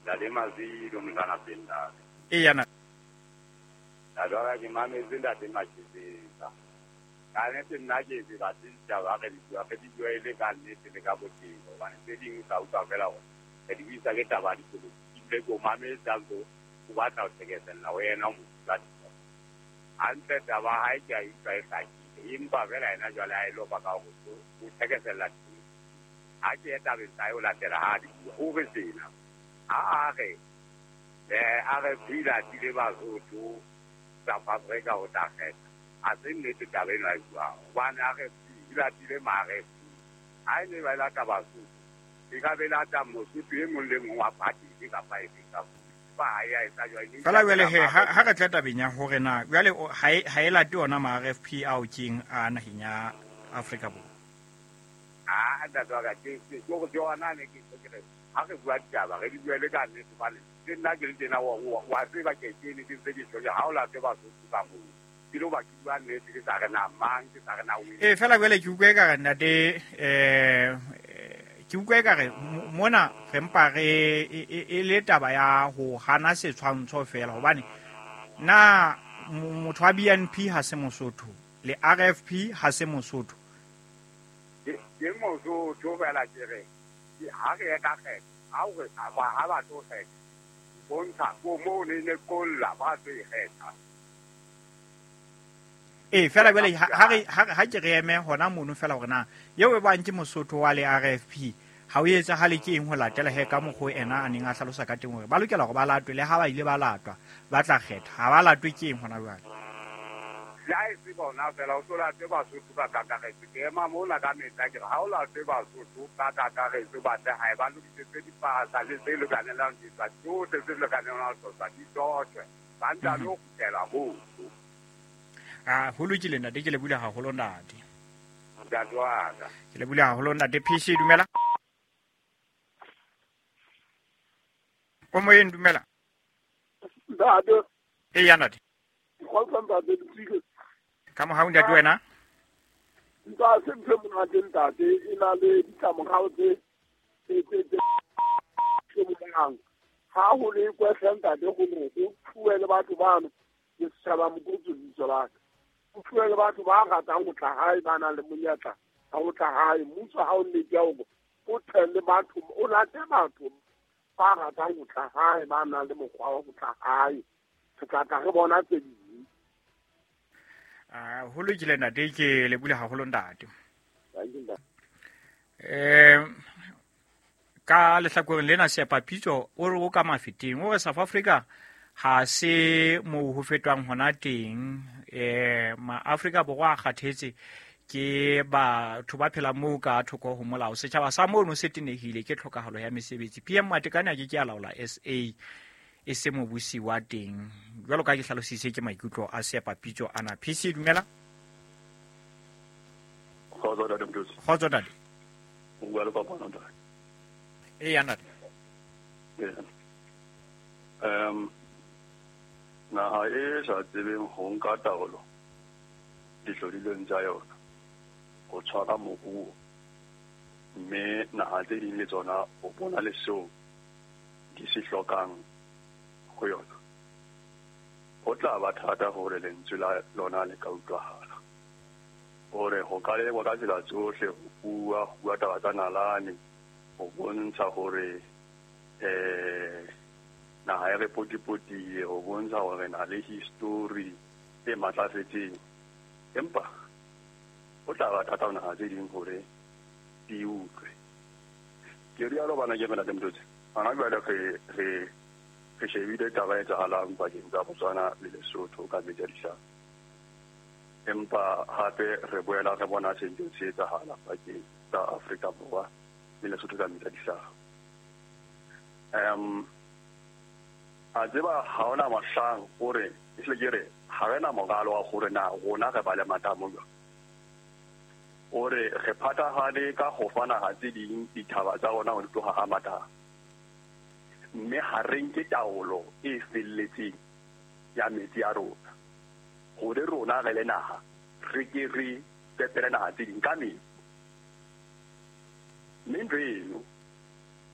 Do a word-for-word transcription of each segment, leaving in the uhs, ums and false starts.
Ntate Mazilo mntana Pindane. E yana. Ntate wa ke mametse ntate Machizisa. Ka nnete nna ke se batle ditaba re di bua re di bua e le ka nnete le ka botebo hobane tse ding o tla utlwa fela hore re di buisa ke taba ya dipolotiki ebile ke o mametse a ntso o batla ho thekesella ho yena motho a hantle taba ya hae ke a e utlwa e hlakile empa fela yena jwale ha e lopa ka hore o thekesella ha ke ye tabeng tsa hae ho latela ha di bua o re sena ha a re eh a re phila tile Basotho South Africa ho tla kgetha a se nnete taba eno a e buang hobane a re phila tile mare ha e ne ba lata Basotho e ka be lata Mosotho e mong le mong wa party efe kapa efe kapa ya etsa jwang fela jwale he ha re tla tabeng ya hore na jwale ha e ha e late ona ma R F P ao keng a naheng ya Afrika Borwa a ntate wa ka ke ke go yona ne ke ke re ha re bua ditaba re di bue le ka nnete hobane le nna ke le tena wa wa tseba ke ke ne ke ntse ke tjho ha o late Basotho ka moo ke lo ba ke bua nnete ke sa re na mang ke sa re na o e fela jwale ke utlwe ka re ntate eh ke utlwe ka re mona re mpa re e le taba ya ho hana setshwantsho fela hobane na motho wa B N P ha se Mosotho le R F P ha se Mosotho ke Mosotho fela ke re ha re ye ka kgetha ha o re ha ba tlo kgetha bontsha ko mo ne ne kolla ba tlo e kgetha e fela jwale ha re ha ke re eme hona mono fela hore na eo e bang ke Mosotho wa le R F P ha o etsahale ke eng ho latela he ka mokgwa ena a neng a hlalosa ka teng hore ba lokela hore ba latwe le ha ba ile ba latwa ba tla kgetha ha ba latwe ke eng hona jwale le ha e se bona fela o tlo late Basotho ka kakaretso ke ema mona ka mehla ke re ha o late Basotho ka kakaretso ba tle hae ba lokisetse dipasa le tse lokanelang ditswa tsohle tse lokanelang tswa di tsohle ba ntsa lo kgutlela moo ah ho lokile ntate ke le bula haholo ntate ntate wa ka ke le bula haholo ntate P C dumela o moyeng dumela ntate e ya ntate kgotsa ntate Tsike ka mohau ntate wena ntate ntse monate ntate e na le ditlamorao tse tse tse tse monang ha ho le kwehla ntate go go fuwe le batho bano ke setjhaba mokotsi lebitso la ka o fuwe le batho ba ratang ho tla hae ba nang le monyetla wa ho tla hae mmuso ha o nnete ya hore o tle le batho o late batho ba ratang ho tla hae ba nang le mokgwa wa ho tla hae re tla tla re bona tse ding ah ho lokile ntate ke le bule haholo ntate eh ka lehlakoreng lena Seepapitso o re o ka mafeteng o re South Africa ha se mo ho fetwang hona teng eh ma Afrika Borwa a kgathetse ke batho ba phela moo ka thoko ho molao setjhaba sa mono se tenehile ke tlhokahalo ya mesebetsi P M Matekane a ke ke a laola S A e se mobusi wa teng jwalo ka ke hlalositse ke maikutlo a Seepapitso ana P C dumela kgotso ntate Mthotsi kgotso ntate o bua le kopano ntate e ya ntate um naha e sa tsebeng ho nka taolo dihlodilweng tsa yona ho tshwara moruo mme naha tse ding le tsona o bona le seo di se hlokang ho yona ho tla ba thata hore lentswe la lona le ka utlwahala hore ho ka lekwa ka tsela tsohle ho bua ho bua taba tsa nalane ho bontsha hore eh naha e re potipotile ho bontsha hore na le history e matlafetseng empa ho tla ba thata ho naha tse ding hore di utlwe ke rialo bana ke mena Mthotsi hona jwale re re re shebile taba e etsahalang pakeng tsa Botswana le Lesotho ka metsi a dihlapi empa hape re boela re bona se ntse se etsahala pakeng tsa Afrika Borwa le Lesotho ka metsi a dihlapi um a tseba ha ona mohlang hore ehlile ke re ha re na moralo wa hore na rona re ba le matamo jwang hore re phathahane ka ho fa naha tse ding dithaba tsa rona ho tloha ha matamo mme ha re nke taolo e felletseng ya metsi a rona hore rona re le naha re ke re fepele naha tse ding ka metsi mme ntho eno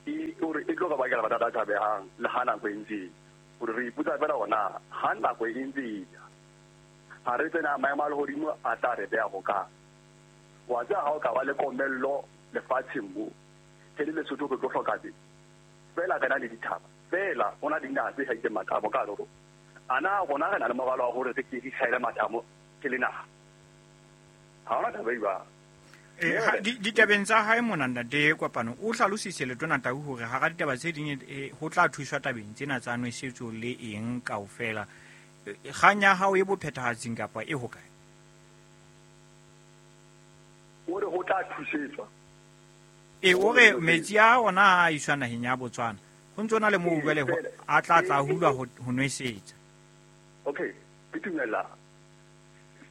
E hore e tlo re bakela mathata a tshabehang le ha nako e ntse hore re ipotsa fela hore na ha nako e ntse e ya ha re tsena maemo a lehodimo a tla re beha hokae. Wa tseba ha o ka ba le komello lefatsheng mo ke le Lesotho re tlo hloka teng fela re na le dithaba fela ho na le dinaha tse hlahileng matamo ka hare ho rona. A na rona re na le moralo wa hore re ke re hlahele matamo ke le naha? Ha hona taba e jwalo. Ditabeng tsa hae mona ntate Kopano o hlalositse Letona Tau hore hara ditaba tse ding ho tla thuswa tabeng tsena tsa nwesetso le eng kaofela. Kgang ya hao e bophethahatsing kapa e hokae? O re ho tla thusetswa. E o re metsi a ona a iswa naheng ya Botswana. Ho ntso na le moo jwale a tla tla hulwa ho nwesetsa. Okay, ke dumela.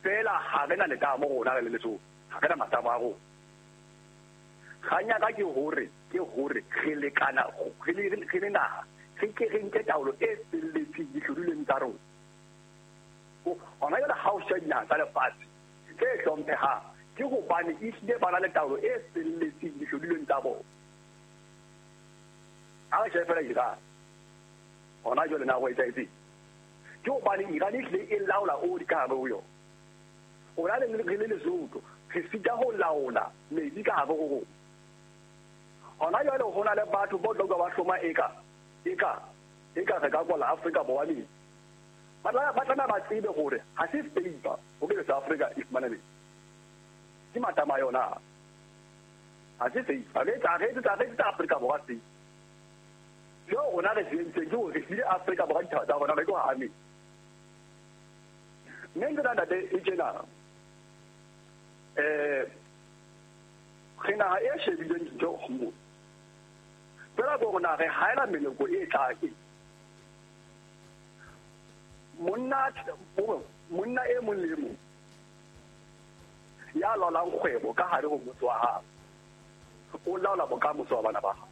Fela ha re na letamo rona re le Lesotho. Ha re na matamo a rona. Kgang ya ka ke hore ke hore re lekana re le re le naha re ke re nke taolo e felletseng dihlodilweng tsa rona. Hona jwale ha o sheba dinaha tsa lefatshe tse hlomphehang ke hobane ehlile ba na le taolo e felletseng dihlodilweng tsa bona. Ha re shebe fela Iran hona jwale na ho etsahetseng ke hobane Iran ehlile e laola oli ka hare ho yona. Rona re le Lesotho re sita ho laola metsi ka hare ho rona. Hona jwale ho na le batho ba tla utlwa ba hloma eka eka eka re ka kwala Afrika Borwa metsi. Ba tla ba tlameha ba tsebe hore ha se favor hore South Africa e fumane metsi. Ke matamo a yona. Ha se favor. Re etsa re etsa re etsa Afrika Borwa se. Seo rona re se entseng ke hore re file Afrika Borwa dithaba tsa rona re tlo ha metsi. Mme ntho ena ntate e tjena. Eh re naha e shebileng dintho mo. Fela ko rona re haela meloko e tlang e. Monna monna e mong le mong ya laolang kgwebo ka hare ho motse wa hao o laola bokamoso wa bana ba hao.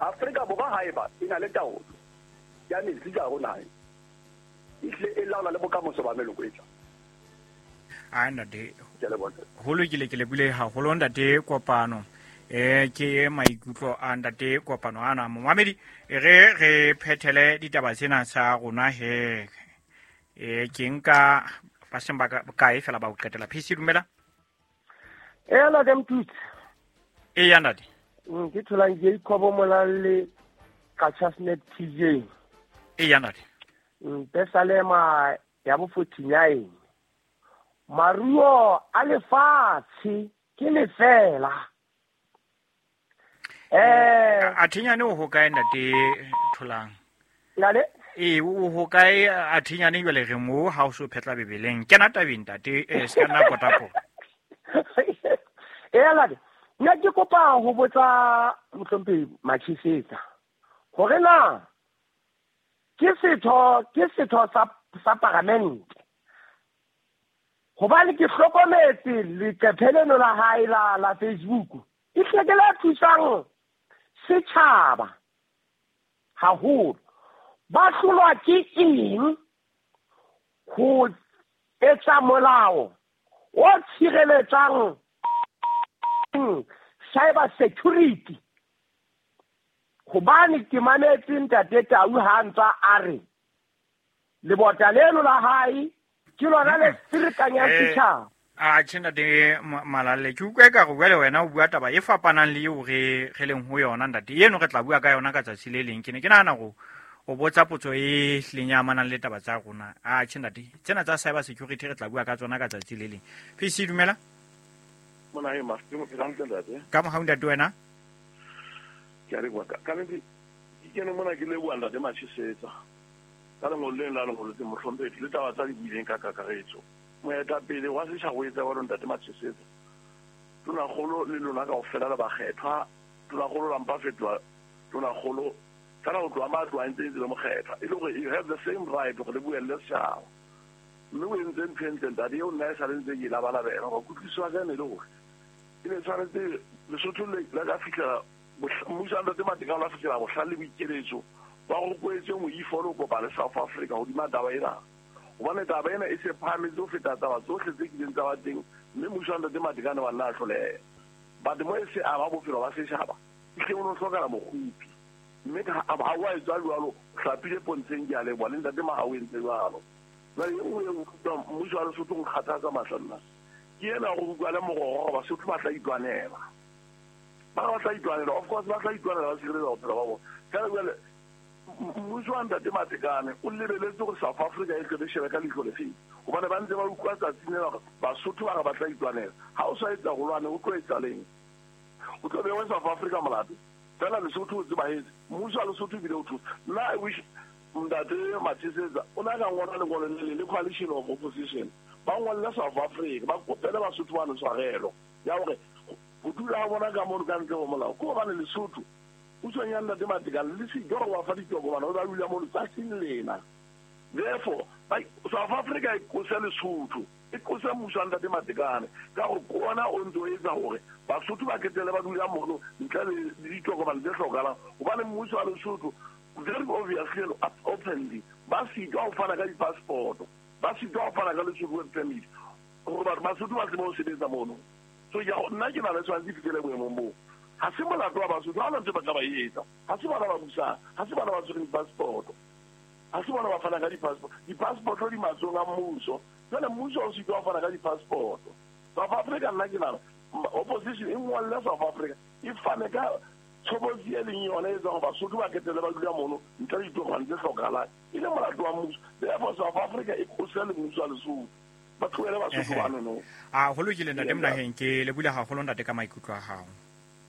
Afrika Borwa haeba e na le taolo ya metsi ka hare ho naha ehlile e laola le bokamoso ba meloko e tlang. A ntate ho lokile ke lebile haholo ntate Kopano. Eh ke maikutlo a ntate Kopano ana momamedi re re phethele ditaba tsena tsa rona he eh ke nka ba seng ba kae fela ba o qetela. P C dumela. Eh la dem tut. E ya ntate. Ke tholang Jacob Molalle ka Chasnet T J. E ya ntate. Pesalema ya bo forty-nine. Maruo a lefatshe ke lefela. Eh a thinyane o hokae ntate Tholang? Nale? Eh o hokae a thinyane jwale re mo ha o so phetla bebeleng. Kena tabeng ntate eh se kana potapo. Eh la nna ke kopa ho botsa mohlomphehi Machisetsa hore na ke setho ke setho sa sa paramente. Hobane ke hlokometse leqephe leno la hae la la Facebook. E hle ke la thusang setjhaba haholo. Ba hlolwa ke eng ho etsa molao o tshireletsang cyber security? Hobane ke mametse ntate Tau ha ntsa a re lebota leno la hae ke lona le ferekanyang setjhaba. A tjhe ntate Malalle ke utlwa eka re bua le wena o bua taba e fapanang le eo re re leng ho yona ntate. Eno re tla bua ka yona ka tsatsi le leng. Ke ne ke nahana hore o botsa potso e hlileng ya amanang le taba tsa rona. A tjhe ntate, tsena tsa cyber security re tla bua ka tsona ka tsatsi le leng. P C dumela. Mona e mafti mo phela hantle ntate. Ka mohau ntate wena. Ke a leboha. Ka nnete ke kene mona ke leboha ntate Machisetsa. Ka lengolo leno la lengolo tse mohlomphehi le taba tsa di buileng ka kakaretso. Moetapele wa setjhaba o etsa jwalo ntate Machisetsa. Tonakgolo le lona kaofela le bakgethwa. Tonakgolo la mpa fetoha tonakgolo kana ho tloha matlo a ntse ntse le mokgethwa. E le hore you have the same right hore le buelle setjhaba. Mme o entse ntho e ntle ntate eo nna e sale ntse ke e labalabela hore kutlwisiso ya ka e ne e le hore e ne tshwanetse Lesotho le la ka fihlela mmuso wa ntate Matekane wa fihlela bohlale le boikeletso ba rokoetse moifo le ho kopa le South Africa hodima taba ena. Hobane taba ena e se phahametse ho feta taba tsohle tse kileng tsa ba teng, mme mmuso wa ntate Matekane wa nna a hloleha. But mo e se ama bophelo ba setjhaba Ehlile o no hlokala mokgupi. Mme ha wa etswa jwalo, hlapile pontsheng ke a leboha le ntate Mahao entse jwalo. Jwale e nngwe e utlwang mmuso wa Lesotho o nkgathatsa mahlo nna. Ke ena go bua le mororo Basotho ba tla itwanela. Ba ba tla itwanela, of course ba tla itwanela ba sireletsa bophelo ba bona. Ka jwale mmuso wa ntate Matekane o lebeletse gore South Africa e tle shebe ka leihlo le feng. Hobane ba ntse ba utlwa tsatsing lena hore Basotho ba re ba tla itwanela. Ha o sa etsa go lwane o tlo etsa leng? O tlo bewa South Africa molato. Fela Lesotho o tsebahetse. Mmuso wa Lesotho ebile o thusa. Nna I wish ntate Mathisetsa o na ka ngola lengolo le le coalition of opposition. Ba ngolle South Africa, ba kopele Basotho ba tshwarelo ya hore ho dula ha bona ka mono ka ntle ho molao. Ke hobane Lesotho pusong ya ntate Matekane le se ke wa fa ditokomane o ba dula mono tsatsing lena. Therefore, South Africa e qose Lesotho, e qose mmuso wa ntate Matekane ka hore ke ona o ntso etsa hore Basotho ba ketele ba dula mono ntle le ditokomane tse hlokahalang. Hobane mmuso wa Lesotho very obviously and openly ba sitwa ho fana ka di-passport, ba sitwa ho fana ka Lesotho work permit hore batho Basotho ba tsebe ho sebetsa mono. So ya nna ke na le tshwanetse fihlele boemong boo. Ha se molato wa Basotho, ha hona ntho ba ka ba etsa. Ha se bona ba busang, ha se bona ba tshwereng di-passport, ha se bona ba fana ka di-passport. Di-passport di matsohong a mmuso. Jwale mmuso o sitwa ho fana ka di-passport. South Africa nna ke nahana opposition e ngolle South Africa e fane ka tshobotsi e leng yona e etsang hore Basotho ba ketele ba dula mono ntle le ditokomane tse hlokahalang. E le molato wa mmuso. Therefore South Africa e qose le mmuso wa Lesotho. Ba tlohele Basotho bano no. A ho lokile ntate Monaheng, ke lebule haholo ntate ka maikutlo a hao.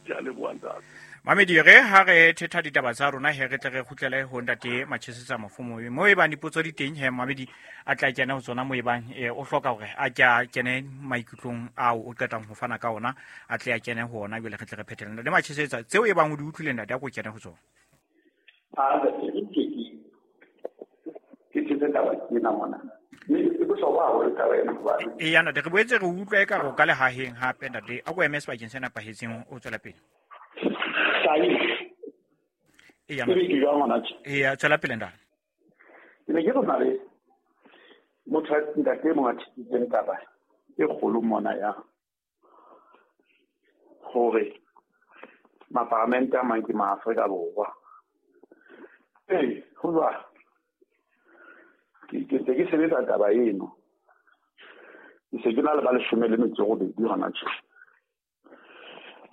Ke a leboha ntate. Mamedi re ha re thetha ditaba tsa rona he re tle re kgutlele ho ntate Mathisetsa Mafumo. Mo e bang dipotso di teng he Mamedi a tla kena ho tsona mo e bang o hloka hore a ke a kene maikutlong ao o qetang ho fana ka ona, a tle a kene ho ona jwale re tle re phethele. Ntate Mathisetsa, tseo e bang o di utlwile ntate a ko kene ho tsona. A ke ke ke ke taba ena mona. Mme e bohlokwa haholo taba ena hobane. Eya ntate, re boetse re utlwa eka re ka lehaheng hape ntate. A ko eme sebakeng se nepahetseng o tswela pele. Eya eya tswela pele ntate. Ke ne ke re na le motho ntate mongwe a thisitseng taba e kgolo mona ya hore maparamente a mang ke maAfrika Borwa. Ee, ho jwalo. Ke ntse ke sebetsa taba eno. Ke se ke na le ba leshome le metso e robedi hona tje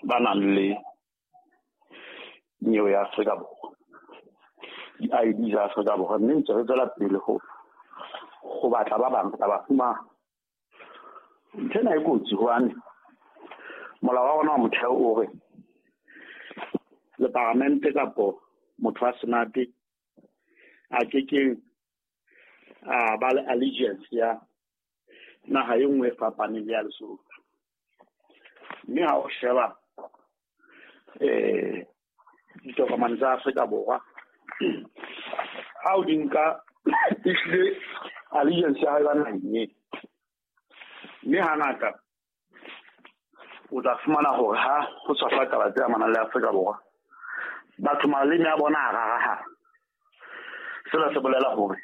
ba nang le nyewe ya Afrika Borwa, di-I D tsa Afrika Borwa, mme ntse re tswela pele ho ho batla ba bang tla ba fumana. Ntho ena e kotsi hobane molao wa rona wa motheo o re le paramente kapo motho wa senate a ke ke a ba le allegiance ya naha e nngwe e fapaneng le ya Lesotho. Mme ha o sheba eh ditokomane tsa Afrika Borwa ha o di nka ehlile allegiance ya hae ba naheng e. Mme hangata o tla fumana hore ha ho tshwasa taba tse amanang le Afrika Borwa batho maleme a bona a rarahana. Sena se bolela hore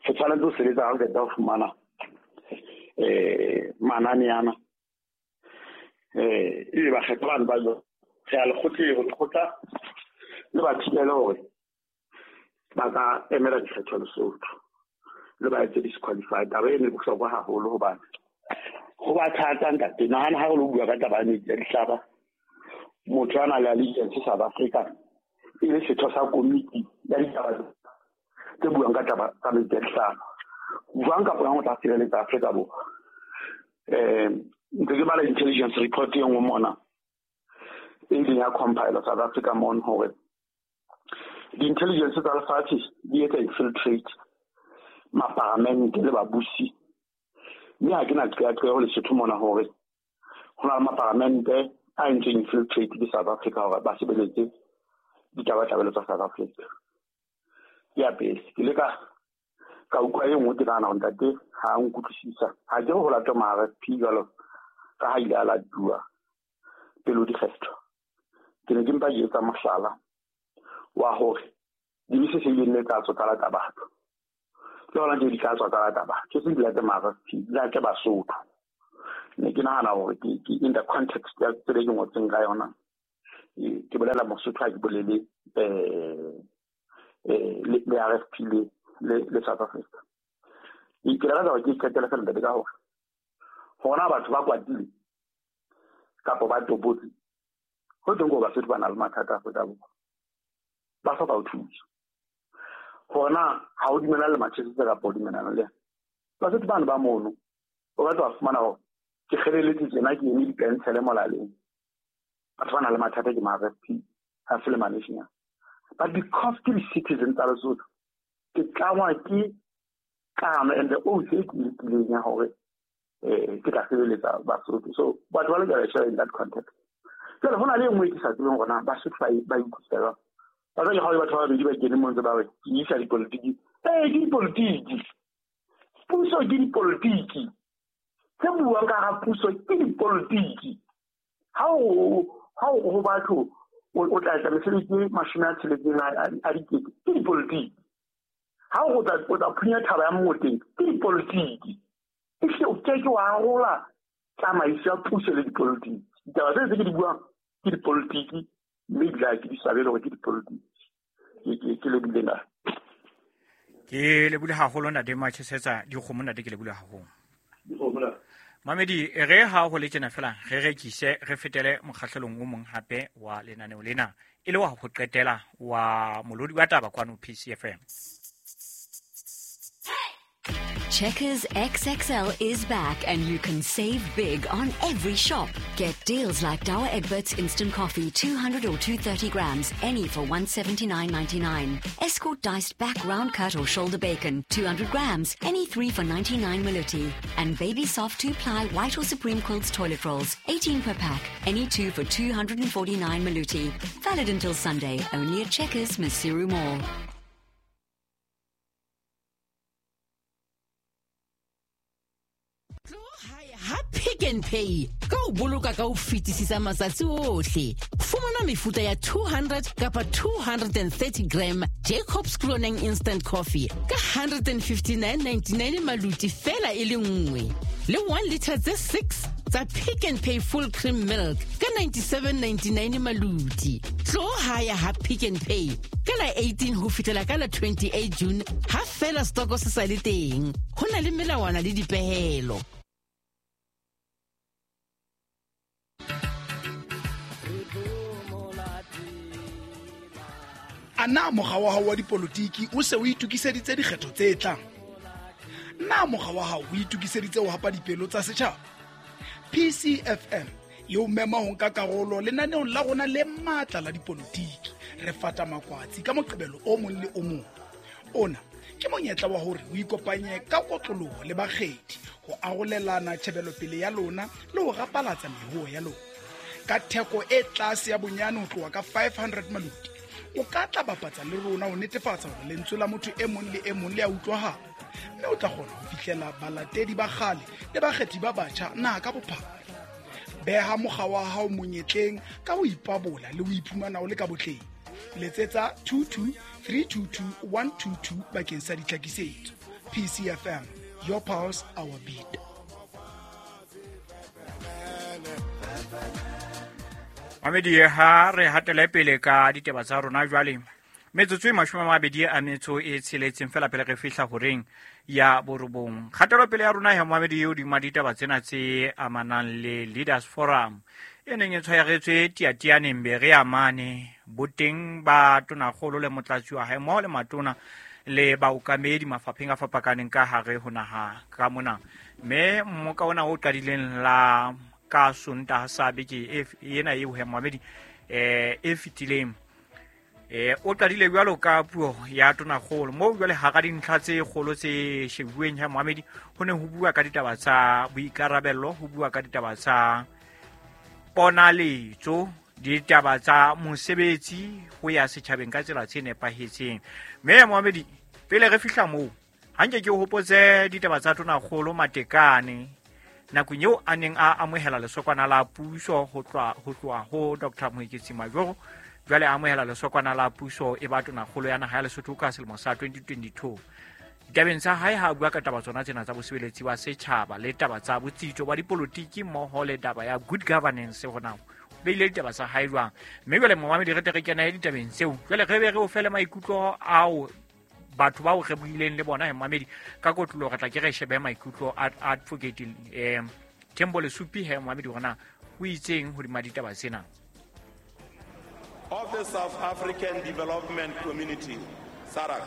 re tshwanetse ho sebetsa ha re qeta ho fumana eh manane ana eh ebe bakgetho bano ba re a lekgotleng, lekgotla le ba thibele hore ba ka emela dikgetho Lesotho le ba etse disqualify. Taba eno e bohlokwa haholo hobane ho ba thata ntate. Nahana ha re lo bua ka taba ya metsi a dihlaba, motho a nang le allegiance South Africa e le setho sa komiti ya ditaba tse buang ka taba tsa metsi a dihlaba, jwang kapa jwang o tla sireletsa Afrika Borwa. Um ntse ke bala intelligence report e nngwe mona e ileng ya compile South Africa mono hore di-intelligence tsa lefatshe di etsa infiltrate maparamente le babusi. Mme ha ke na qeaqeo Lesotho mona hore ho na le maparamente a entseng infiltrate ke South Africa hore ba sebeletse ditabatabelo tsa South Africa. Ya pele, ke ile ka ka utlwa e nngwe ke nahana hore ntate ha a nkutlwisisa. Ha ke re ho latwa ma-R F P jwalo ka ha ile a latuwa pele ho dikgetho. Ke ne ke mpa ke etsa mohlala wa hore dibese se ileng le tsa tswa tsa lata batho. Le hona tje di tla tswa tsa lata batho. Ke seng di late ma-R F P, di late Basotho. Ne ke nahana hore ke in the context ya tsela e ke ngotseng ka yona Ke bolela Mosotho ha ke bolele eh eh le R F P le le South Africa. Ke rata hore ke qetele fela ntate ka hore hona batho ba kwatile kapa ba tobotse ho teng go Basotho ba na le mathata Afrika Borwa, ba hloka ho thusa. Hona ha o dumela le Manchester kapa o dumelana le Basotho bana ba mono, o batla wa fumana hore ke kgeleletse tjena ke eme dipentshele molaleng. Batho ba na le mathata ke ma R F P ha se le ma-national, but because ke di-citizen tsa Lesotho ke tlangwa ke kano and the oath e ke lekileng ya hore eh ke tla sebeletsa Basotho. So batho ba lokela share in that context. Jwale ho na le e nngwe e ke sa tsebeng hore na Basotho ba ba ikutlwa jwang. Ba jwale ha batho ba babedi ba kene mo ntse ba re ke isa dipolotiki. Eh ke dipolotiki, puso ke dipolotiki, tse buang ka ga puso ke dipolotiki. Ha o ha o ho batho o tla etsa mesebetsi e mashome a tsheletseng a dikete ke dipolotiki. Ha o tla o tla phunya thaba ya mmoteng ke dipolotiki. Ehlile o ke ke wa arola tsamaiso ya puso le dipolotiki. Ditaba tse tse ke di buang ke dipolotiki, mme ebile ha ke di swabele hore ke dipolotiki. Ke ke ke lebile na. Ke lebile haholo ntate Machesetsa dikgomo ntate, ke lebile haholo. Dikgomo na. Mamedi re ha ho le tjena fela re rekise re fetele mokgahlelong o mong hape wa lenaneo lena e le wa ho qetela wa molodi wa taba kwano P C F M. Checkers X X L is back and you can save big on every shop. Get deals like Douwe Egberts Instant Coffee, two hundred or two hundred thirty grams, any for one seventy-nine ninety-nine. Escort diced back round cut or shoulder bacon, two hundred grams, any three for ninety-nine maluti. And Baby Soft two-ply white or Supreme Quilts toilet rolls, eighteen per pack, any two for two hundred forty-nine maluti. Valid until Sunday, only at Checkers, Maseru Mall. Ha Pick n Pay ka o boloka ka ho fetisisa matsatsi ohle. Fumana mefuta ya two hundred kapa two hundred thirty gram Jacobs Cloning Instant Coffee ka one fifty-nine ninety-nine maluti fela e le nngwe. Le one liter tse six tsa Pick n Pay Full Cream Milk ka ninety-seven ninety-nine maluti. Tlo haya ha Pick n Pay ka la eighteen ho fihlela ka la twenty-eight June ha fela stoko se sa le teng. Ho na le melawana le dipehelo. A na mokga wa hao wa dipolotiki o se o itokiseditse dikgetho tse tlang? Na mokga wa hao o itokiseditse ho hapa dipelo tsa setjhaba? P C F M e o mema ho nka karolo lenaneong la rona le matla la dipolotiki. Re fata makwatsi ka Moqebelo o mong le o mong. Ona ke monyetla wa hore o ikopanye ka kotloloho le bakgethi ho arolelana tjhebelopele ya lona le ho rapalatsa mehuo ya lona. Ka theko e tlase ya bonyane ho tloha ka five hundred maluti, o ka tla bapatsa le rona ho netefatsa hore lentswe la motho e mong le e mong le a utlwahala, mme o tla kgona ho fihlela balatedi ba kgale le bakgethi ba batjha naha ka bophara. Beha mokga wa hao monyetleng ka ho ipabola le ho iphumana o le ka botleng. Letsetsa two two three two two one two two bakeng sa ditlhakisetso. P C F M, your pulse, our beat. Mamedi ha re hatele pele ka ditaba tsa rona jwale. Metsotso e mashome a mabedi a metso e tsheletseng fela pele re fihla horeng ya borobong. Kgatelopele ya rona ya Mamedi eo dima ditaba tsena tse amanang le Leaders Forum e neng e tshwaretswe Tiatianeng Berea mane boteng ba tonakgolo le motlatsi wa hae mmoho le matona le baokamedi mafapheng a fapakaneng ka hare ho naha ka mona. Mme mmoka ona o qadileng la ka Sontaha sa beke ena eo he Mamedi eh e fetileng eh o qadile jwalo ka puo ya tonakgolo moo jwale hara dintlha tse kgolo tse shebuweng ha Mamedi ho ne ho bua ka ditaba tsa boikarabello, ho bua ka ditaba tsa ponaletso, ditaba tsa mosebetsi ho ya setjhabeng ka tsela tse nepahetseng. Mme Mamedi pele re fihla moo hanke ke hopotse ditaba tsa tonakgolo Matekane nakong eo a neng a amohela lesokwana la puso ho tloha ho tloha ho Doctor Moeketsi Majoro, jwale a amohela lesokwana la puso e ba tonakgolo ya naha ya Lesotho ka selemo sa twenty twenty-two. Ditabeng tsa hae ha a bua ka taba tsona tsena tsa bosebeletsi ba setjhaba le taba tsa botsitso ba dipolotiki mmoho le taba ya good governance hona beile ditaba tsa hae jwang. Mme jwale momamedi re tle re kene ditabeng tseo, jwale re be re o fele maikutlo ao batho bao re buileng le bona he momamedi ka kotlolo. Re tla ke re shebe maikutlo a advocate eh Thembo Lesupi he momamedi hore o itseng hodima ditaba tsena. Of the South African Development Community, SADC,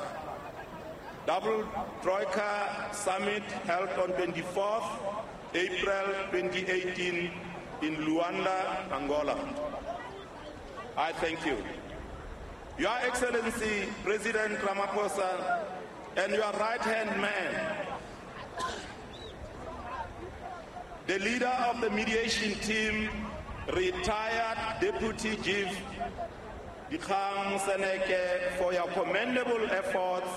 Double Troika Summit held on twenty-fourth April twenty eighteen in Luanda, Angola. I thank you. Your Excellency, President Ramaphosa, and your right-hand man, the leader of the mediation team, retired Deputy Chief Dikgang Seneke, for your commendable efforts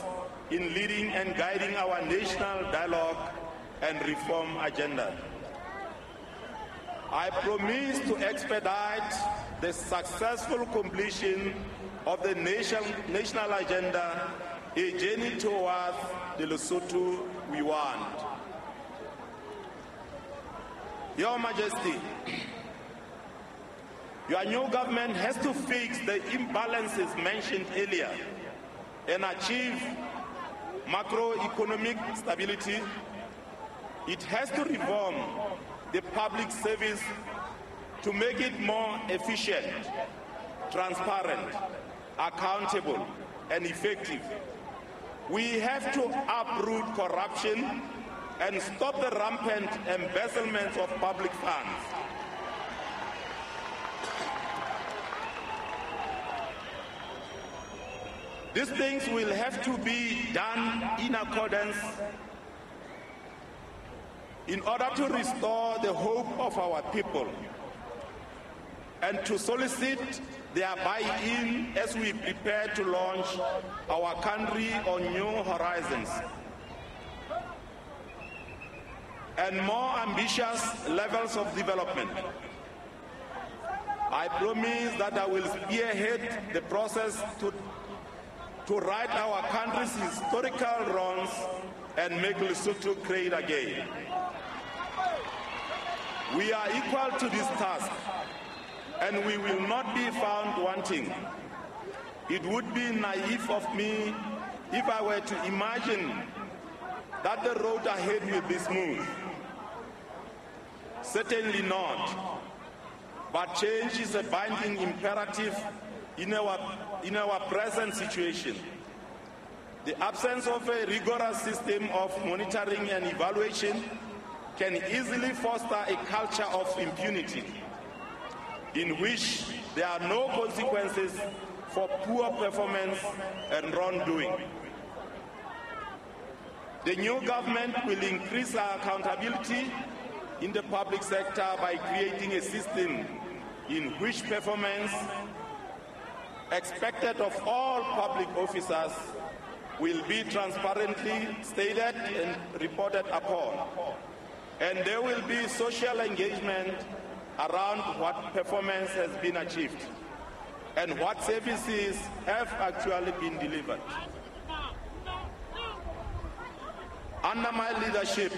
in leading and guiding our national dialogue and reform agenda. I promise to expedite the successful completion of the nation, national agenda, a journey towards the Lesotho we want. Your Majesty, your new government has to fix the imbalances mentioned earlier and achieve macroeconomic stability. It has to reform the public service to make it more efficient, transparent, accountable, and effective. We have to uproot corruption and stop the rampant embezzlement of public funds. These things will have to be done in accordance in order to restore the hope of our people and to solicit their buy-in as we prepare to launch our country on new horizons and more ambitious levels of development. I promise that I will spearhead the process to, to right our country's historical wrongs and make Lesotho great again. We are equal to this task, and we will not be found wanting. It would be naive of me if I were to imagine that the road ahead will be smooth. Certainly not. But change is a binding imperative in our, in our present situation. The absence of a rigorous system of monitoring and evaluation can easily foster a culture of impunity in which there are no consequences for poor performance and wrongdoing. The new government will increase our accountability in the public sector by creating a system in which performance expected of all public officers will be transparently stated and reported upon. And there will be social engagement around what performance has been achieved and what services have actually been delivered. Under my leadership,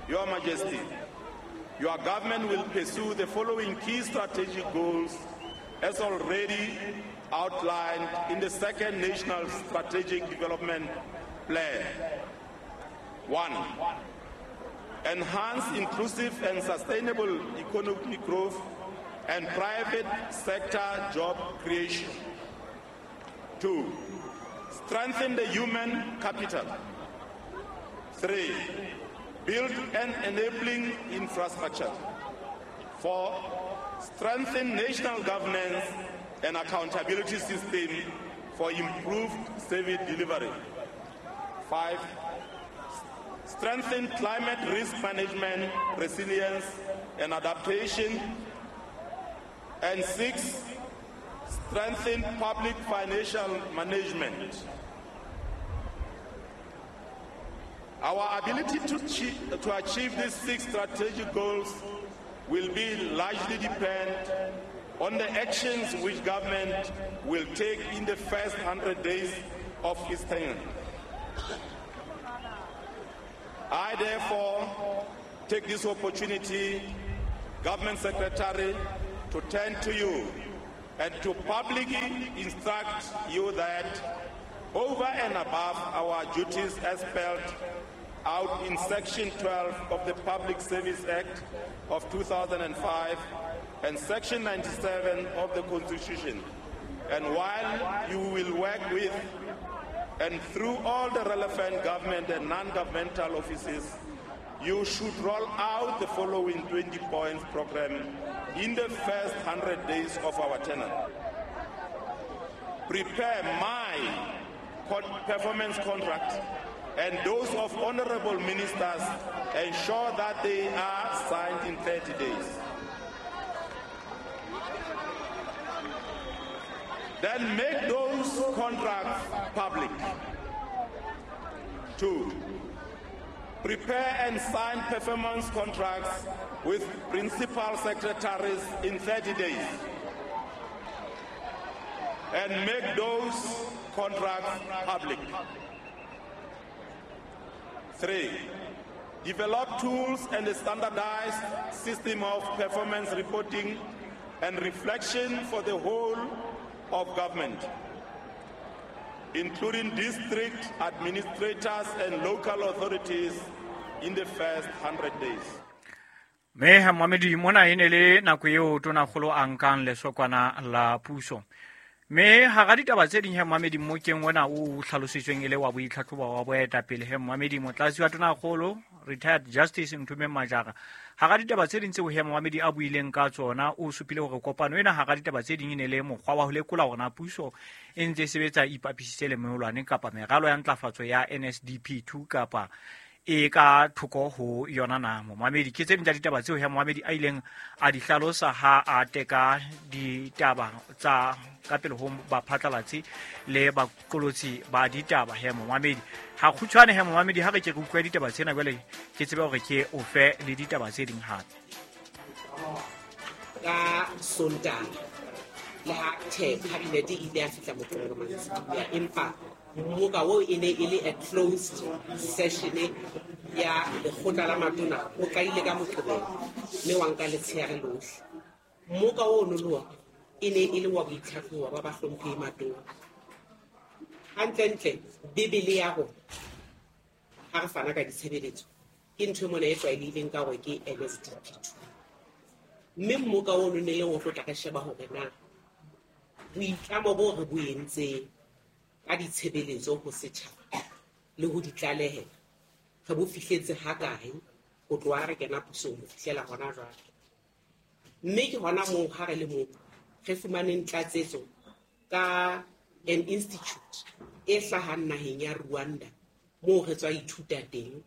Your Majesty, your government will pursue the following key strategic goals as already outlined in the second National Strategic Development Plan. One, enhance inclusive and sustainable economic growth and private sector job creation. Two, strengthen the human capital. Three, build an enabling infrastructure. Four, strengthen national governance and accountability system for improved service delivery. Five, strengthen climate risk management, resilience, and adaptation. And six, strengthen public financial management. Our ability to, to achieve these six strategic goals will be largely depend on the actions which government will take in the first hundred days of its tenure. I therefore take this opportunity, Government Secretary, to turn to you and to publicly instruct you that over and above our duties as spelled out in Section twelve of the Public Service Act of two thousand five and Section ninety-seven of the Constitution, and while you will work with and through all the relevant government and non-governmental offices, you should roll out the following twenty points program in the first hundred days of our tenure. Prepare my performance contract and those of honorable ministers, ensure that they are signed in thirty days. Then make those contracts public. Two, prepare and sign performance contracts with principal secretaries in thirty days. And make those contracts public. Three, develop tools and a standardized system of performance reporting and reflection for the whole of government, including district administrators and local authorities in the first hundred days. Me Mohamedi mona e ne le nako eo tonakgolo a nkang lesokwana la puso. Me hara ditaba tse ding he Mohamedi mmokeng ona o hlalositsweng e le wa boitlhatlhobo wa boetapele he Mohamedi motlatsi wa tonakgolo retired Justice Nthumeng Majara. Hara ditaba tse ding tseo he Mohamedi a buileng ka tsona o supile hore kopano ena hara ditaba tse ding e ne le mokgwa wa ho lekola hore na puso e ntse e sebetsa ipapisitse le meholwane kapa meralo ya ntlafatso ya N S D P two kapa e ka thoko ho yona na. Mohamedi ke tse ding tsa ditaba tseo he Mohamedi a ileng a di hlalosa ha a teka ditaba tsa ka pele ho baphatlalatsi le baqolotsi ba ditaba he Mohamedi. Ha kgutshwane he Mohamedi ha re ke re utlwe ditaba tsena jwale ke tsebe hore ke o fe le ditaba tse ding hape. Ka Sontaha le ha tjhe cabinet e ile ya fihla Moqebelo mantsibuya, empa mmoka oo e ne e le a closed session ya lekgotla la matona o qadile ka Moqebelo mme wa nka letsheare lohle. Mmoka oo no le ona e ne e le wa boitlhatlhobo ba bahlomphehi matona. Hantlentle Bibele ya rona ha re fana ka ditshebeletso ke ntho e mona e tlwaelehileng ka hore ke N S D P two. Mme mmoka ono ne le o tlo tla re sheba hore na boitlamo bo re bo entseng ka ditshebeletso ho setjhaba le ho di tlalehela re bo fihletse hakae ho tloha re kena pusong ho fihlela hona jwale. Mme ke hona moo ha re le moo re fumaneng tlatsetso ka an institute e hlahang naheng ya Rwanda moo re tswa ithuta teng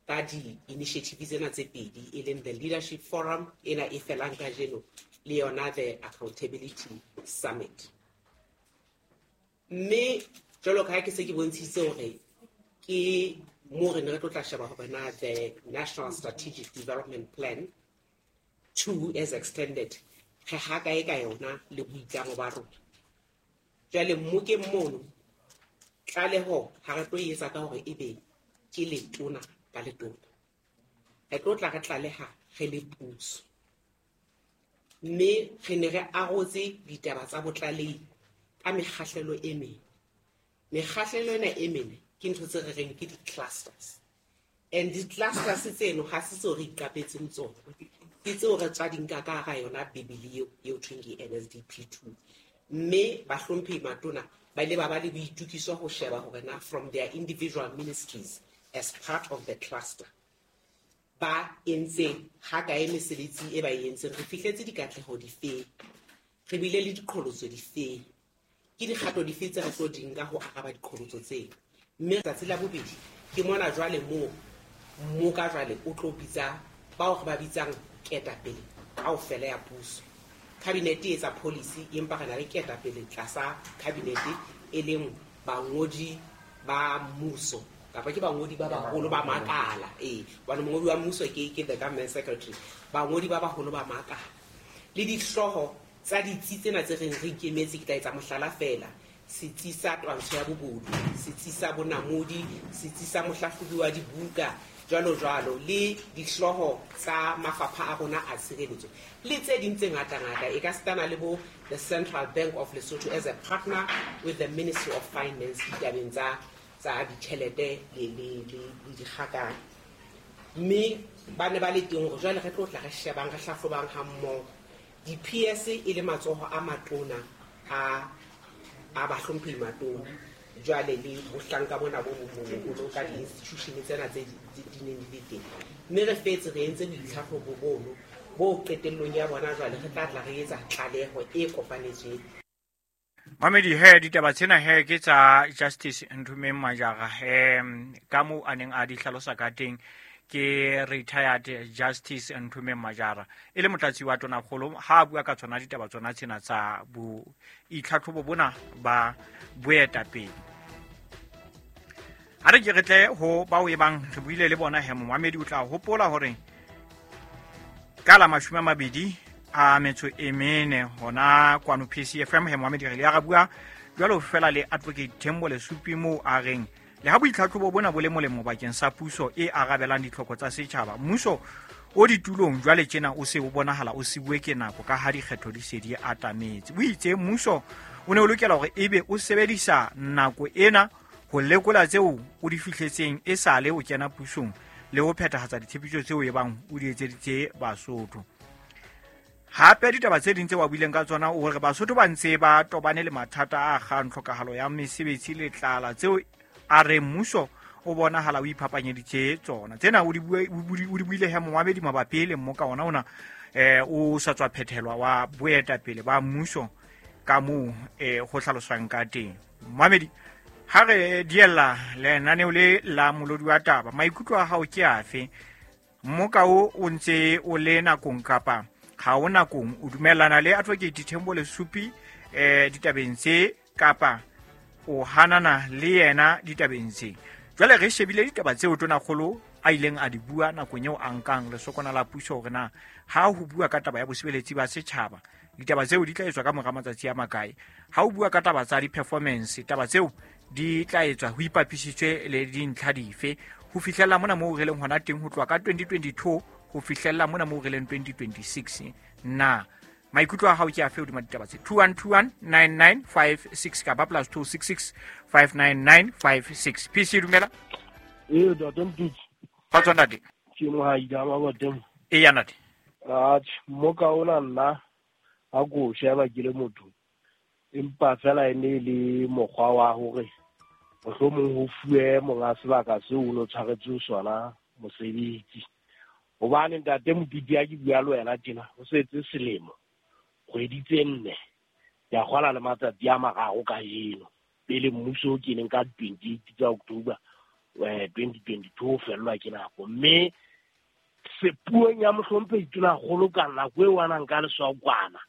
ka di-initiative tsena tse pedi e leng the Leadership Forum ena e felang kajeno le yona the Accountability Summit. Mme jwalo ka ha ke se ke bontshitse hore ke moo re ne re tlo tla sheba hore na the National Strategic Development Plan two as extended re ha kae ka yona le boitlamo ba rona. Jwale mmokeng mono tlaleho ha re tlo e etsa ka hore ebe ke letona ka letona. Re tlo tla re tlaleha re le puso. Mme re ne re arotse ditaba tsa botlalehi ka mekgahlelo e mene. Mekgahlelo ena e mene ke ntho tse re reng ke di-clusters. And di-clusters tseno ha se tseo re iqapetseng tsona. Ke tseo re tswa di nka ka hara yona Bibele eo eo thweng ke N S D P two. Mme bahlomphehi matona ba ile ba ba le boitukiso ho sheba hore na from their individual ministries as part of the cluster ba entseng ha kae mesebetsi e ba e entseng, re fihletse dikatleho difeng, re bile le diqholotso difeng, ke dikgato dife tse re tlo di nka ho araba diqholotso tseo. Mme tsatsi la bobedi ke mona jwale moo mmoka jwale o tlo bitsa bao re ba bitsang ketapele kaofela ya puso. Cabinet e etsa policy empa re na le ketapele tlasa cabinet e leng bangodi ba mmuso kapa ke bangodi ba baholo ba makala. Eh, hobane mongodi wa mmuso ke ke the government secretary, bangodi ba baholo ba makala le dihlooho tsa ditsi tsena tse reng re ikemetse. Ke tla etsa mohlala fela, setsi sa twantsho ya bobodu, setsi sa bonamodi, setsi sa mohlahlobi wa dibuka jwalo jwalo le dihlooho tsa mafapha a rona a tshireletso le tse ding tse ngata-ngata e ka sitana le bo the Central Bank of Lesotho as a partner with the Ministry of Finance ditabeng tsa tsa ditjhelete le le le dikgakang. Mme ba ne ba le teng hore jwale re tlo tla re shebang re hlahlobang ha mmoho di-P S e le matsoho a matona a a bahlomphehi matona jwale le bohlanka bona bo boholo ka di-institution tsena tse di neng di le teng. Mme re fetse re entse boitlhahlobo bono bo qetellong ya bona jwale re tla tla re etsa tlaleho e kopanetsweng. Mamedi he ditaba tsena he ke tsa Justice Nthumeng Majara he ka moo a neng a di hlalosa ka teng ke retired Justice Nthumeng Majara e le motlatsi wa tonakgolo ha a bua ka tsona ditaba tsona tsena tsa bo itlhatlhobo bona ba boetapele. Ha re ke re tle ho bao e bang re buile le bona he momamedi o tla hopola hore ka la mashome a mabedi a metso e mene hona kwano P C F M he momamedi re le ya bua jwalo fela le Advocate Thembo Lesupi moo a reng le ha boitlhatlhobo bona bo le molemo bakeng sa puso e arabelang ditlhoko tsa setjhaba, mmuso o ditulong jwale tjena o se o bonahala o sibuwe ke nako ka ha dikgetho di se di atametse. O itse mmuso o ne o lokela hore ebe o sebedisa nako ena ho lekola tseo o di fihletseng e sale o kena pusong le ho phethahatsa ditshepiso tseo e bang o di etseditse Basotho. Hape ditaba tse ding tse wa buileng ka tsona o hore Basotho ba ntse ba tobane le mathata a akgang tlhokahalo ya mesebetsi le tlala tseo a re mmuso o bonahala o iphapanyeditse tsona. Tsena o di buile he momamedi mabapi le mmoka ona ona eh o sa tswa phethelwa wa boetapele ba mmuso ka moo eh ho hlaloswang ka teng. Momamedi ha re diella lenaneo le la molodi wa taba, maikutlo a hao ke afe? Mmoka o o ntse o le nakong kapa ha o nakong? O dumellana le Advocate Thembo Lesupi eh ditabeng tse kapa o hanana le yena ditabeng tse? Jwale re shebile ditaba tseo tonakgolo a ileng a di bua nakong eo a nkang lesokwana la puso hore na ha ho bua ka taba ya bosebeletsi ba setjhaba ditaba tseo di tla etswa ka mora matsatsi a makae, ha o bua ka taba tsa di-performance taba tseo di tla etswa ho ipapisitswe le dintlha dife ho fihlella mona moo re leng hona teng ho tloha ka twenty twenty-two ho fihlella mona moo re leng twenty twenty-six. Na maikutlo a hao ke afe hodima ditaba tse? two one two one nine nine five six kapa plus two six six five nine nine five six. P C dumela. Ee ntate Mtutsi. Kgotso ntate. Ke Mohaida Maboteng. Eya ntate. Atjhe, mmoka ona nna ha ko sheba ke le motho empa fela e ne le mokgwa wa hore mohlomong ho fuwe monga sebaka seo o no tshwaretswe sona mosebetsi. Hobane ntate Motutsi ha ke bua le wena tjena ho setse selemo kgwedi tse nne ya kgwala le matsatsi a mararo kajeno pele mmuso o keneng ka twenty-eight tsa October twenty twenty-two o fellwa ke nako. Mme sepuong ya mohlomphehi Tonakgolo ka nako eo a nang ka leswakwana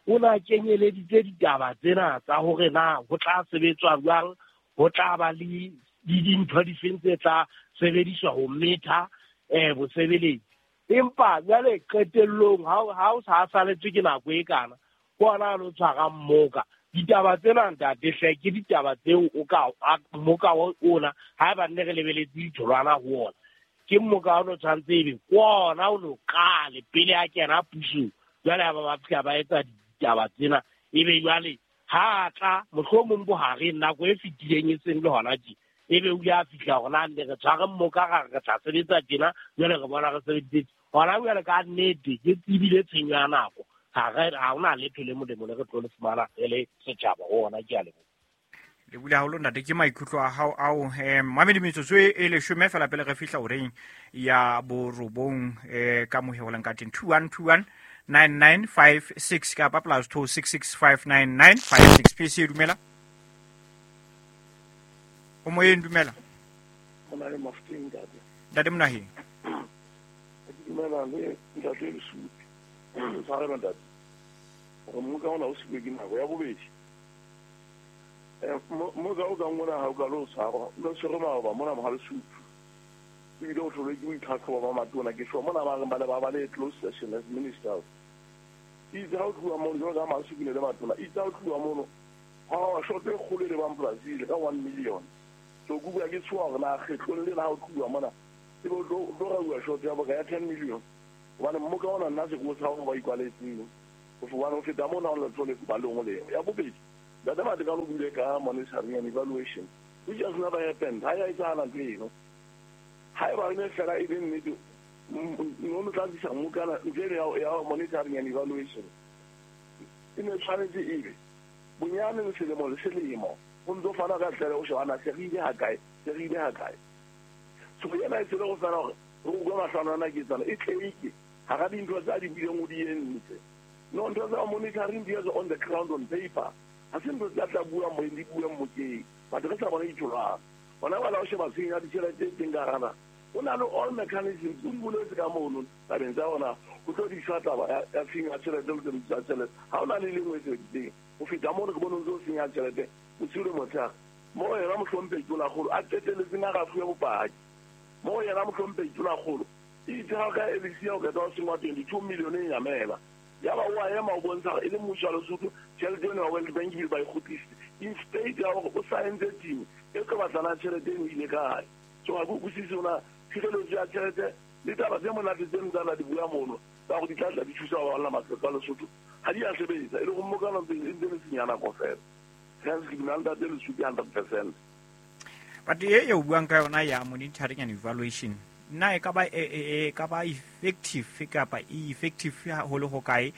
o na kenyeleditse ditaba tsena tsa hore na ho tla sebetswa jwang, ho tla ba le dintho difeng tse tla sebediswa ho metha eh bosebeletsi. Empa jwale qetellong ha o sa saletswe ke nako e kana ke ona a lo tshwara mmoka. Ditaba tsena ntate hle ke ditaba tseo o ka mmoka ona haeba nne re lebeletse ditholwana ho ona ke mmoka o no tshwanetse ebe ke ona o no qale pele a kena pusong. Jwale ha ba ba fihla ba etsa ditaba tsena ebe jwale ha tla mohlomong bohareng nako e fetileng e seng le hona tje ebe o ile a fihla hore na nne re tshware mmoka ra re tla sebetsa tjena jwale re bona re sebeditse hona jwale ka nnete ke tsebile tshenyo ya nako. Ha re ha hona letho le molemo le re tlo le fumana re le setjhaba ho ona. Ke a leboha. Le bula haholo ntate ke maikutlo a hao ao. Eh mamedi metsotso e leshome fela pele re fihla horeng ya borobong eh ka moheolang ka teng two one two one nine nine five six kapa plus two six six five nine nine five six. P C dumela. O moyeng dumela. Ona le Mafuteng ntate. Ntate Monaheng. Ke dumela le ntate Lesupi. Tshwarelo ntate. Hore mmoka ona o siuwe ke nako ya bobedi. Eh mmoka o kang ona ha o ka lo tshwarwa, o tshwerwe maoba mona Mohalesupi. Ebile o tlholwe ke boitlhatlhobo ba matona ke sure mona ba reng ba le ba ba le close session as ministers. Itse ha o tloha mono jwalo ka Mahalesupi le matona, itse ha o tloha mono ha wa shoto e kgolo e lebang Brazil ka one million. So ke bua ke tshoha hore na kgetlong lena ha o tloha mona Ebe o tlo o tlo rauwa short ya boka ya ten million. Hobane mmoka ona nna se ko sa hore ba ikwaletseng. Hobane ho feta mona ho letho le ba leng ho leng. Ya bobedi, Ntate Matekane o buile ka monitoring and evaluation, which has never happened. Ha ya etsahala ntho eno. Haeba e ne fela e le nnete, no no tla tlisa mmokana ntho eno ya ya monitoring and evaluation. E ne tshwanetse ebe bonyane le selemo le selemo ho ntso fana ka tlaleho ho shebana se re ile ha kae, se re ile ha kae. So yena e tsebe go fela hore re utlwe mahlano ana ke tsana e tleke hara dintho tsa di buileng o di entse. No, ntho tsa monitoring di etswa on the ground on paper. Ha se ntho tsa tla bua mo di buang mokeng. Batho re sa bona ditholwana. Hona jwale ha o sheba tshenyo ya ditjhelete e teng ka hara o na le all mechanisms o di boletse ka mono tabeng tsa hona ho tlo diswa taba ya ya tshenyo ya tjhelete le tshebediso ya tjhelete. Ha o na le lengwe e sebeditseng. Ho feta mono ke bone o ntso o senya tjhelete bosiu le motshehare. Mo yena mohlomphehi Tonakgolo a qetelletseng a rafuwe bopaki. Mo yena mohlomphehi Tonakgolo itse ha ka L C o qeta ho sengwa twenty-two million e nyamela. Yaba o a ema o bontsha hore e le mmuso wa Lesotho tjhelete eno ya World Bank ebile ba e kgutlisitse. Instead ya hore o saentse team e tlo batlana tjhelete eno ile kae. So ha ke utlwisise hore tshireletso ya tjhelete le taba tse monate tse ntse a di bua mono tsa hore di tla tla di thusa ho baballa matlotlo a Lesotho ha di a sebetsa e le go mmokana ntse e ntse le senya nako fela. Hence ke dumela ntate Lesupi hundred percent. But e e o buang ka yona ya monitoring and evaluation na e ka ba e ka ba effective kapa e effective haholo ho kae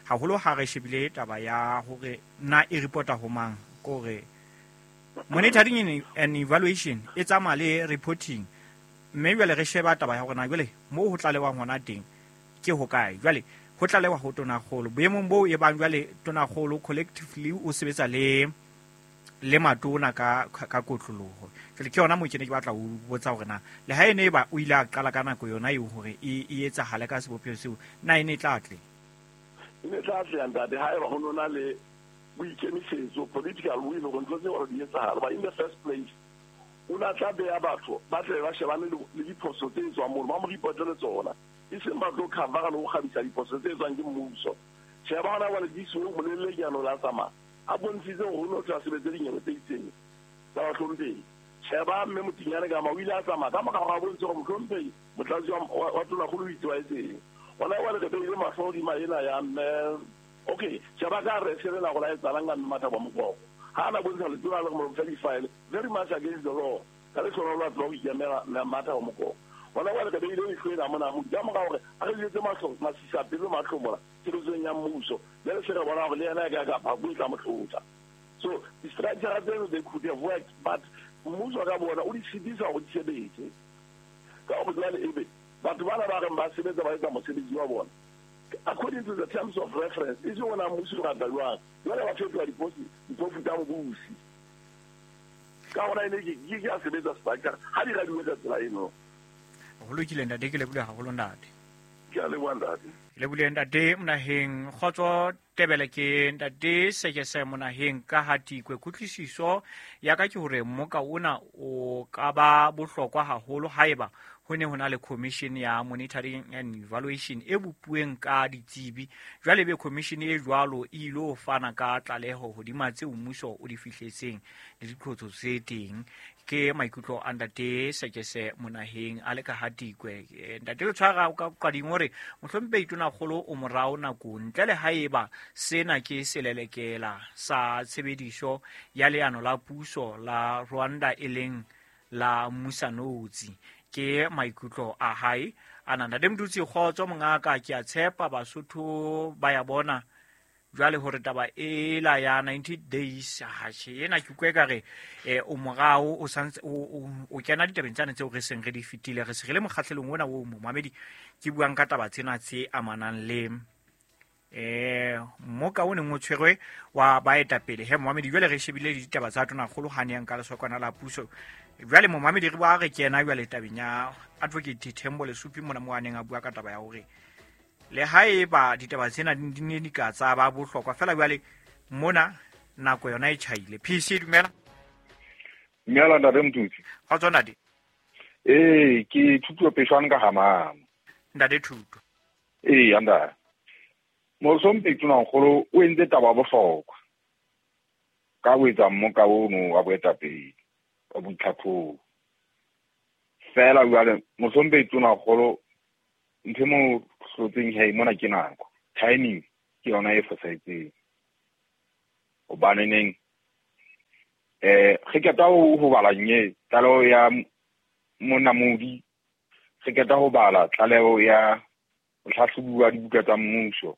haholo ha re shebile taba ya hore na e reporta ho mang kore monitoring and evaluation e tsamaya le reporting mme jwale re sheba taba ya hore na jwale mo ho tlalewang hona teng ke ho kae jwale ho tlalewa ho Tonakgolo boemong boo e bang jwale Tonakgolo collectively o sebetsa le le matona ka ka kotloloho jwale ke yona mo ke ne ke batla ho botsa hore na le ha ene ba o ile a qala ka nako yona eo hore e e etsahale ka sebopeho seo na ene tla tle e ne tla tle ntate ha eba ho nona le boikemisetso political will hore ntho tseo di etsahale. But in the first place o na tla beya batho ba tle ba shebane le diphoso tse tswang mono ba mo reportele tsona e seng ba tlo covera le ho kgabisa diphoso tse tswang ke mmuso. Sheba hona jwale di so molelle leano la tsamaya a bontshitse hore ho no tla sebetse dinyewe tse itseng tsa bahlomphehi. Sheba mme Motinyane ka ma o ile a tsamaya ka mora hore a bontshe hore mohlomphehi motlatsi wa Tonakgolo o itse wa etseng. Hona jwale re beile mahlo hodima ena ya mme okay sheba ka re se rena go la etsalang ka mme Mathabo Mokoko ha ana bontsha letona le mo fa di-file very much against the law ka le sona lwa tlo ho ikemela Mathabo Mokoko. Hona jwale re beile leihlo ena mona mo ka mora hore a re jwetse mahlo masisa pelo mahlomola tshebetsong ya mmuso jwale se re bona hore le yena e ka kapa ho tla mo hlotsa. So di-structure tseno they could have worked but mmuso ka bona o di sitisa hore di sebetse ka hore jwale ebe batho bana ba reng ba sebetsa ba etsa mosebetsi wa bona according to the terms of reference e se ona mmuso o rata jwang jwale ba fetola diphofu tsa mobusi ka hona ene ke ke a sebetsa structure ha di radiwe ka tsela eno. Ho lokile ntate ke leboha haholo ntate. Ke a leboha ntate. Le bule ntate Monaheng kgotso Tebele ke ntate Sekese Monaheng ka Hatikwe. Kutlwisiso ya ka ke hore mmoka ona o ka ba bohlokwa haholo haeba ho ne ho na le commission ya monitoring and evaluation e bopuweng ka ditsebi. Jwale be commission e jwalo e ilo fana ka tlaleho hodima tseo mmuso o di fihletseng le diqotso tse teng. Ke maikutlo a ntate Sekese Monaheng a le ka Hatikwe. Ntate le tshwara ka qading hore mohlomphehi Tonakgolo o morao nakong ntle le haeba sena ke selelekela sa tshebediso ya leano la puso la Rwanda e leng la Musanotsi. Ke maikutlo a hae ana. Ntate Mdutsi kgotso mongaka, ke a tshepa Basotho ba ya bona jwale hore taba ela ya ninety days ha she ena ke utlwe ka re o morao o santse o kena ditabeng tsane tseo re seng re di fetile re se re le mokgahlelong ona o momamedi ke buang ka taba tsena tse amanang le eh mmoka o neng o tshwerwe wa baetapele. He momamedi jwale re shebile ditaba tsa Tonakgolo ha ne yang ka lesokwana la puso. Jwale momamedi re bua re kena jwale tabeng ya Advocate Thembo Lesupi mona mo a neng a bua ka taba ya hore le haeba ditaba tsena di ne di ka tsa ba bohlokwa fela jwale mona nako yona e tjhaile. P C dumela. Dumela ntate Mtutsi. Kgotso ntate. Ee, ke Thuto Peshwane ka Hamama. Ntate Thuto. Ee, ntate. Mohlomphehi Tonakgolo o entse taba bohlokwa ka ho etsa mmoka ono wa boetapele wa boitlhatlhobo. Fela jwale mohlomphehi Tonakgolo ntho e mo hlotseng hei mona ke nako. Timing ke yona e fosahetseng. Hobaneneng eh re qeta ho bala nye tlaleho ya Monamodi, re qeta ho bala tlaleho ya mohlahlobi wa dibuka tsa mmuso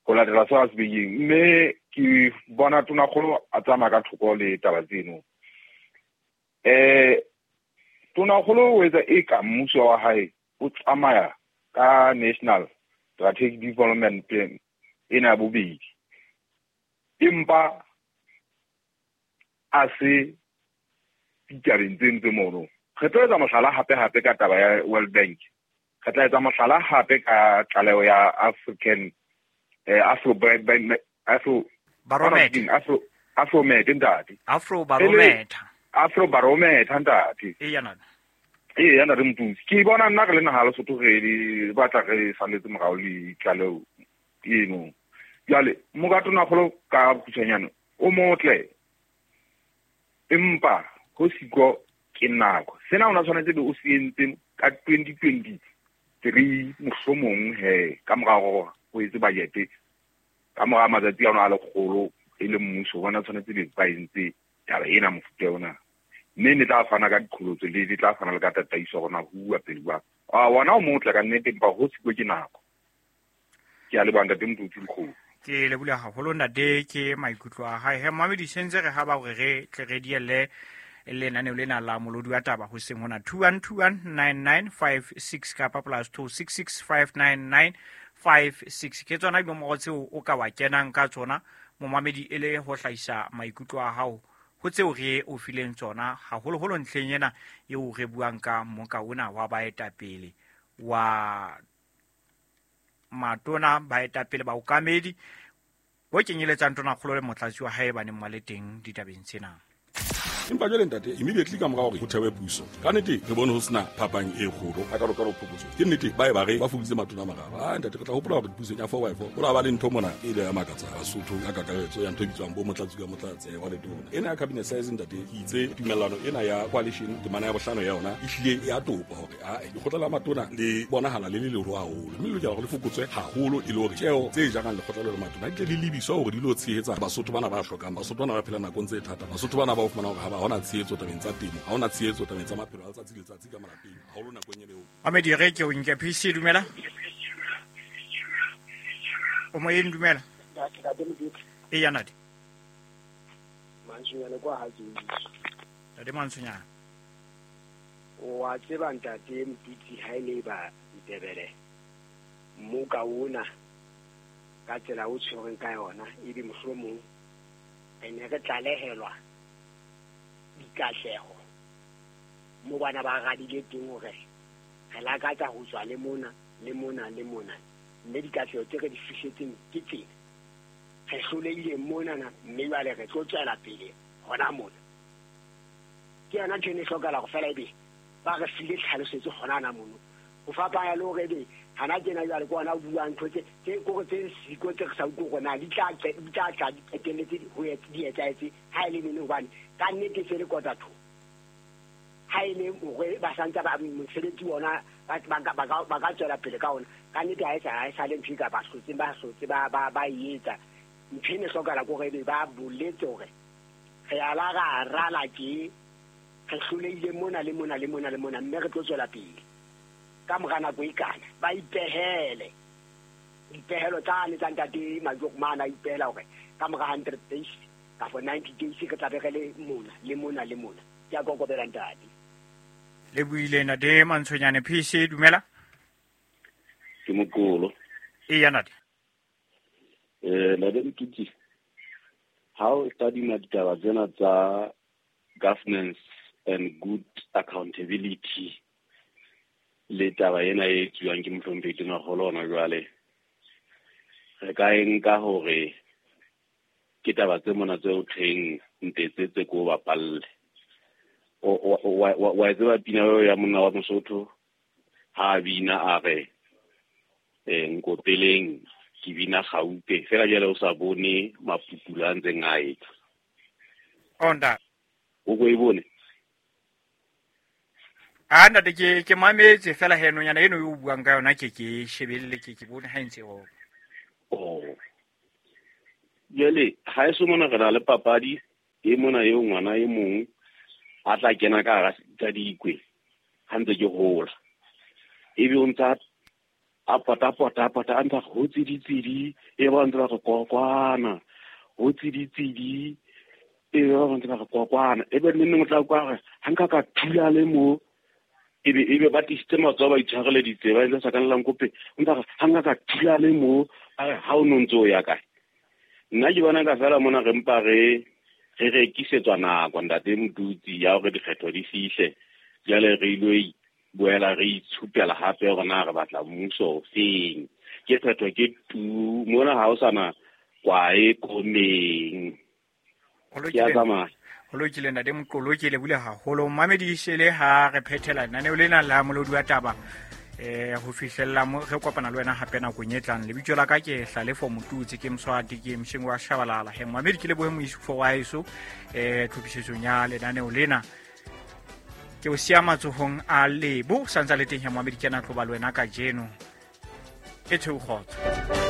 ho latela seo a se beileng. Mme ke bona Tonakgolo a tsamaya ka thoko le taba tseno. Eh Tonakgolo o etsa eka mmuso wa hae o tsamaya ka National Strategic Development Plan ena ya bobedi, empa a se ditabeng tseno tse mono. Re tlo etsa mohlala hape hape ka taba ya World Bank, re tla etsa mohlala hape ka tlaleho ya African eh Afro Afro Barometer, Afro Afrometer ntate, Afro Barometer, Afro Barometer ntate. E yana e yana re mpusi ke bona nna re le naha Lesotho re di batla re salletse morao le tlaleho eno. Jwale moka Tonakgolo ka bokgutshwanyane o motle, empa ho siko ke nako. Sena ona tshwanetse be o se entse ka twenty twenty-three mohlomong he ka mora hore o etse budget ka mora matsatsi a ona a lekgolo e le mmuso, bona tshwanetse be ba entse taba ena mofuta ona, mme ne tla fana ka diqholotso le di tla fana le ka tataiso hore na ho bua pele jwang. A wona o motle ka nnete, empa ho siko ke nako. Ke a leboha ntate Motutsi Lekgolo. Ke leboha haholo ntate, ke maikutlo a hae. He mamedi sentse re ha ba hore re tle re dielle lenaneo lena la molodi wa taba hoseng hona two one two one nine nine five six kapa plus two six six five nine nine five six. Ke tsona dinomoro tseo o ka wa kenang ka tsona momamedi e le ho hlahisa maikutlo a hao ho tseo re o fileng tsona, haholoholo ntlheng ena eo re buang ka moka ona wa baetapele wa matona, baetapele ba okamedi bo kenyeletsang Tonakgolo le motlatsi wa hae ba neng ba le teng ditabeng tsena. Empa jwale ntate, immediately ka mora hore ho thewe puso, ka nnete re bone ho sena phapang e kgolo a ka ka phokotso. Ke nnete ba e ba re ba fokoditse matona a mararo. Ah ntate, re tla hopola hore pusong ya four by four ho la ba le ntho mona e ile ya makatsa Basotho ka kakaretso ya ntho e bitswang bo motlatsi ka motlatsi wa letona. Ena ya cabinet size ntate, ke itse tumellano ena ya coalition temana ya bohlano ya yona e hlile ya topa hore a lekgotla la matona le bonahala le le leholo haholo, mme le lokela hore le fokotswe haholo e le hore tjeo tse jarang lekgotla le matona di tle di lebiswa hore di lo tshehetsa Basotho bana ba hlokang, Basotho bana ba phelang nakong tse thata, Basotho bana ba o fumana hore ha ba hona tshehetso tabeng tsa temo, ha hona tshehetso tabeng tsa maphelo a letsatsi le letsatsi ka malapeng, haholo nakong eo. Mamedi re ke o nke P C, dumela. O moyeng, dumela. E ya ntate. Mantsonyana kwa ha Jesu. Ntate Mantsonyana. O a tseba ntate Motutsi ha e le ba Ndebele. Mmoka ona ka tsela o tshwereng ka yona ebe mohlomong re ne re tlalehelwa dikahleho mo bana ba radile teng hore re lakatsa ho tswa le mona le mona le mona, mme dikahleho tse re di fihletseng ke tsena. Re hlolehile monana, mme jwale re tlo tswela pele hona mona. Ke yona ntho e ne e hlokahala hore fela ebe ba re file tlhalosetso hona na mono. Ho fapana le hore ebe hana tjena jwale ke ona o buang ntho tse tse kore tse siko tse re sa utlwe hore na di tla di tla tla di qetelletse ho di etsahetse ha e le nene, hobane ka nnete se le kota tho. Ha e le hore ba santse ba mosebetsi ona ba ba ba ka tswela pele ka ona, ka nnete ha e sa ha e sale ntho e ka ba hlotse ba hlotse ba ba ba e etsa. Ntho e ne hlokahala ke hore ebe ba boletse hore re a la ra rala ke re hlolehile mona le mona le mona le mona, mme re tlo tswela pele ka mora nako e kana. Ba ipehele dipehelo tsane tsa ntate Majokmana, a ipehela hore ka mora hundred days kapa ninety days re tla be re le mona le mona le mona. Ke a kokobela ntate. Le buile ntate Mantshonyane. P C, dumela. Ke mokolo. E ya ntate. Eh ntate Motutsi, ha o tadima ditaba tsena tsa governance and good accountability le taba ena e tswang ke mohlomphehi Tonakgolo hona jwale, re ka e nka hore ke taba tse mona tse o thweng ntetsetse ko bapalle. O wa tseba pina eo ya monna wa Mosotho ha bina a re eh nkopeleng ke bina gaupe fela jale o sa bone mapupula a ntseng a etsa. Onda O ko e bone? A ntate ke ke mametse fela he nonyana eno e o buang ka yona ke ke shebelle ke ke bone ha e ntse o. Oh. Jwale ha eso mona re na le papadi e mona eo ngwana e mong a tla kena ka hara tsa dikwe ha ntse ke hola. Ebe o ntsa a pota pota pota a ntsa ho tsiditsidi e ba ntse ba re kokwana ho tsiditsidi e ba ntse ba re kokwana e be nne o tla kwa re ha nka ka thula le mo ebe ebe ba tisitse matsoho ba itshwareleditse ba entse sakanlang kope o ntsa re ha nka ka thula le mo a re ha o no ntse o ya kae. Nna ke bona ka fela mona re mpa re re rekisetswa nako ntate Motutsi ya hore dikgetho di fihle jwale re ilo boela re itshupela hape hore na re batla mmuso o feng. Ke phetho ke tu mona ha o sana kwae komeng. Ke a tsamaya. Ho lokile ntate Moqolo, ke lebule haholo. Mamedi shele ha re phethela lenaneo lena la Molodi wa Taba eh ho fihlella mo re kopana le wena hape nakong e tlang. Lebitso la ka ke Hlalefo Motutsi, ke Mswati, ke Msheng wa Shabalala. He mamedi ke lebohe moisufo wa heso eh tlhophisetsong ya lenaneo lena. Ke o siya matsohong a Lebo santsa le teng he mamedi ke na tlo ba le wena kajeno. E theoho kgotso.